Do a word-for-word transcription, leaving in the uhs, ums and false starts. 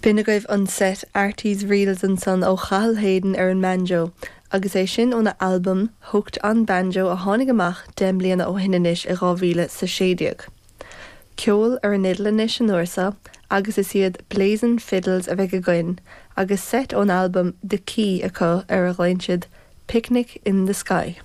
B'in agaibh an set Artie's Reels ansan ó Chathal Hayden ar an mbanjo, agus é sin óna albam Hooked on Banjo a tháinig amach deich mbliana ó shin anois i dhá mhíle sa sé déag. Ceol ar an fhidil anois an uair seo agus is iad Blazin' Fiddles a bheidh againn, agus set ón albam The Key acu ar a ghlaonn siad Picnic in the Sky.